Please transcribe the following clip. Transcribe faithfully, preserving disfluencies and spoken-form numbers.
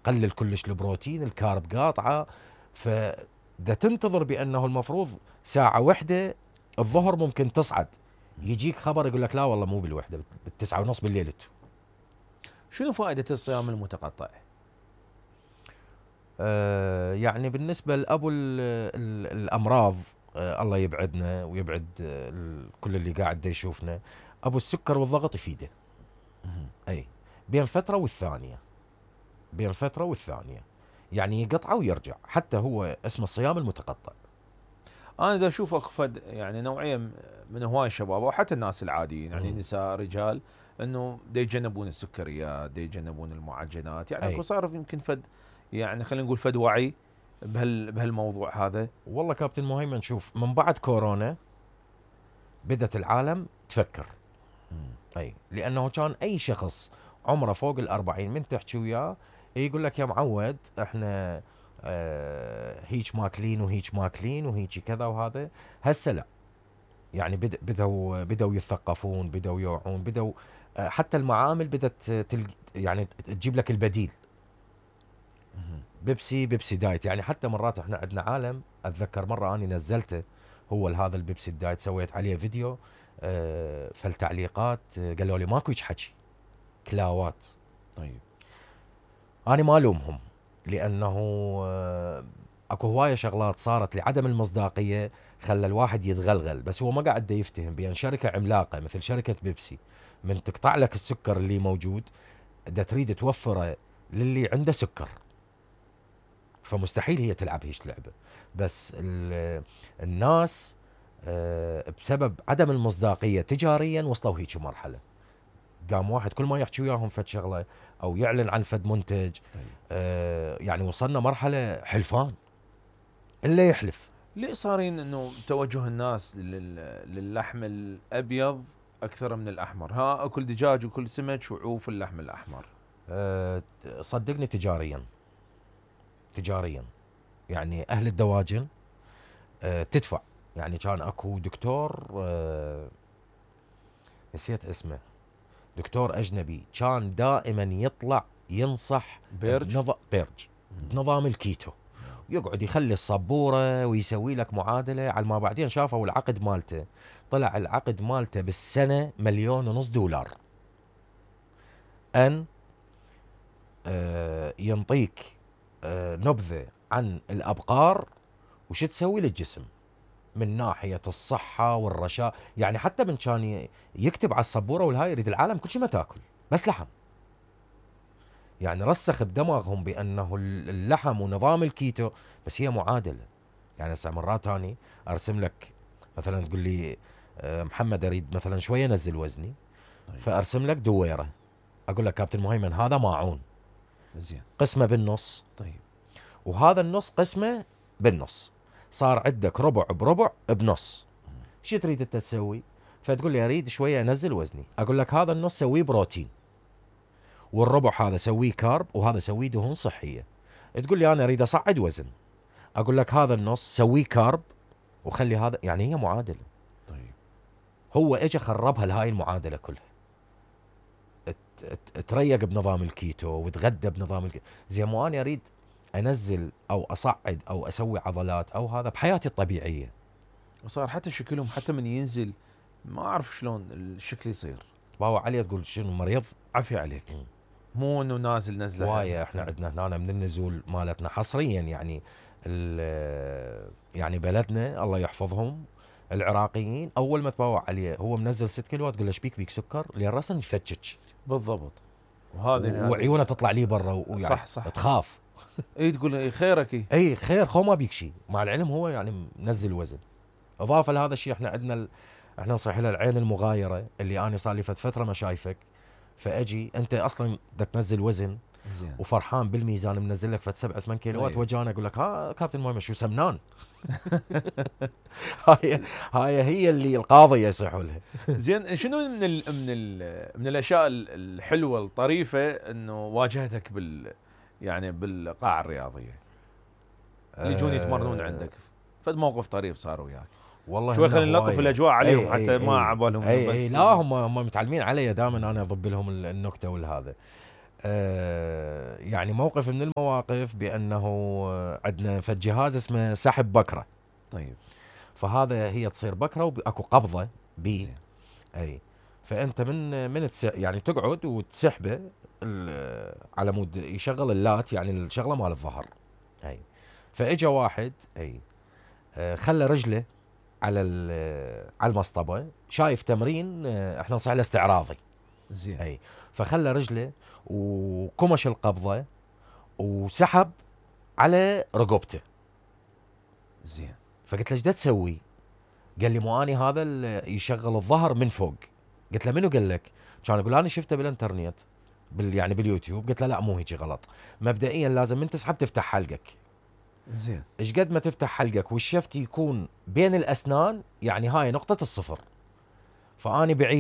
قلل كلش البروتين، الكارب قاطعه، فدا تنتظر بانه المفروض ساعه وحده الظهر ممكن تصعد، يجيك خبر يقول لك لا والله مو بالوحده، بالتسعة ونص بالليل انتو. شنو فائده الصيام المتقطع؟ آه يعني بالنسبه لابو ال ال الامراض، آه الله يبعدنا ويبعد آه كل اللي قاعد دا يشوفنا، ابو السكر والضغط يفيده. اي بين فتره والثانيه، بين فتره والثانيه يعني يقطعه ويرجع، حتى هو اسمه الصيام المتقطع. انا دا اشوف اكو فد يعني نوعيه من هواي الشباب وحتى الناس العاديين يعني مم. نساء رجال انه دا يتجنبون السكريات، دا يتجنبون المعجنات، يعني اكو أي. صار يمكن فد يعني خلينا نقول فد وعي بهال بهالموضوع هذا. والله كابتن مهيمن شوف، من بعد كورونا بدت العالم تفكر. اي لانه كان اي شخص عمره فوق الأربعين من تحكي وياه يقول لك يا معود احنا آه هيك ماكلين وهيك ماكلين وهيك كذا وهذا. هسه لا، يعني بد- بدوا بدوا يتثقفون، بدوا يوعون، بدوا آه حتى المعامل بدت تلق يعني تجيب لك البديل. بيبسي بيبسي دايت، يعني حتى مرات احنا عندنا عالم، اتذكر مره اني نزلته هو هذا البيبسي الدايت، سويت عليه فيديو آه فالتعليقات آه قالوا لي ماكو هيك حكي، كلاوات. طيب انا ما الومهم، لانه آه اكو هوايه شغلات صارت لعدم المصداقيه خلى الواحد يتغلغل، بس هو ما قاعد دا يفتهم بان شركه عملاقه مثل شركه بيبسي من تقطع لك السكر اللي موجود دا تريد توفره للي عنده سكر، فمستحيل هي تلعب هيش لعبه. بس الناس آه، بسبب عدم المصداقيه تجاريا وصلوا هيك مرحله، قام واحد كل ما يحكي وياهم فد شغله او يعلن عن فد منتج آه، يعني وصلنا مرحله حلفان الا يحلف. ليه صارين انه توجه الناس لل... للحم الابيض اكثر من الاحمر؟ ها اكل دجاج وكل سمك وعوف اللحم الاحمر. أه صدقني تجاريا، تجاريا يعني اهل الدواجن أه تدفع. يعني كان اكو دكتور أه نسيت اسمه، دكتور اجنبي كان دائما يطلع ينصح بيرج بنظ... بيرج بنظام الكيتو، يقعد يخلي الصبوره ويسوي لك معادله، على ما بعدين شافوا العقد مالته، طلع العقد مالته بالسنه مليون ونص دولار. ان آه ينطيك آه نبذه عن الابقار وش تسوي للجسم من ناحيه الصحه والرشاء، يعني حتى من كان يكتب على السبوره والهاي يريد العالم كل شيء ما تاكل بس لحم. يعني رسخ بدماغهم بانه اللحم ونظام الكيتو، بس هي معادله. يعني هسه مرات اني ارسم لك مثلا تقول لي آه، محمد اريد مثلا شويه انزل وزني، طيب. فارسم لك دويره، اقول لك كابتن مهيمن هذا ماعون زين قسمه بالنص، طيب وهذا النص قسمه بالنص، صار عندك ربع بربع بنص. شو تريد انت تسوي؟ فتقول لي اريد شويه انزل وزني، اقول لك هذا النص سويه بروتين، والربع هذا سويه كارب، وهذا سويه دهون صحيه. تقول لي انا اريد اصعد وزن، اقول لك هذا النص سويه كارب وخلي هذا، يعني هي معادله. طيب هو اجى خربها لهاي المعادله كلها. ت- ت- تريق بنظام الكيتو وتغدى بنظام الكيتو، زي ما انا اريد انزل او اصعد او اسوي عضلات او هذا بحياتي الطبيعيه. وصار حتى شكلهم حتى من ينزل ما اعرف شلون الشكل يصير. باو علي تقول شنو مريض؟ عافية عليك. مم. مو انه نازل نزله هوايه احنا عندنا هنا من النزول مالتنا حصريا، يعني ال- يعني بلدنا الله يحفظهم العراقيين، اول ما تباوع عليه هو منزل ست كيلو تقول له ايش بيك؟ بيك سكر؟ لين راسا يفتشك بالضبط. وهذا وعيونه تطلع لي برا ويعني صح صح تخاف. اي تقول إيه خيرك إيه؟ اي خير خو ما بيك شيء، مع العلم هو يعني منزل وزن. اضافه لهذا الشيء احنا عندنا ال... احنا نصيح لها العين المغايره، اللي انا صار لي فت فتره ما شايفك، فاجي انت اصلا بدك تنزل وزن زين وفرحان بالميزان منزل لك فت سبعة ثمان كيلوات، أيوه. وجانا اقول لك ها كابتن مهمه شو سمنان؟ هاي هاي هي اللي القاضيه يصيحوا لها. زين شنو من ال من ال من الاشياء ال- الحلوه الطريفه انه واجهتك بال يعني بالقاعه الرياضيه اللي يجون يتمرنون عندك؟ فد موقف طريف صار وياك؟ والله شوي إنه خلينا نلطف هواية. الاجواء عليهم أي حتى أي ما أي عبالهم اي بس اي لا هم هم متعلمين علي دائما انا اضب لهم النكته والهذا. آه يعني موقف من المواقف بانه عندنا فد جهاز اسمه سحب بكره. طيب. فهذا هي تصير بكره واكو قبضه بي. زين. اي. فانت من من تس يعني تقعد وتسحبه ال- على مود يشغل اللات، يعني الشغله مال الظهر. اي. فاجا واحد اي آه، خلى رجله على ال- على المصطبه، شايف تمرين آه، احنا نصيح له استعراضي. زين. اي. فخلى رجله وكمش القبضه وسحب على رقبته. زين. فقلت له ايش دا تسوي؟ قال لي مو اني هذا اللي يشغل الظهر من فوق. قلت له منو قال لك؟ كان يقول انا شفته بالانترنت بال يعني باليوتيوب. قلت له لا مو هيك غلط، مبدئيا لازم من تسحب تفتح حلقك. زين. ايش قد ما تفتح حلقك والشفت يكون بين الاسنان، يعني هاي نقطة الصفر. فاني بعيد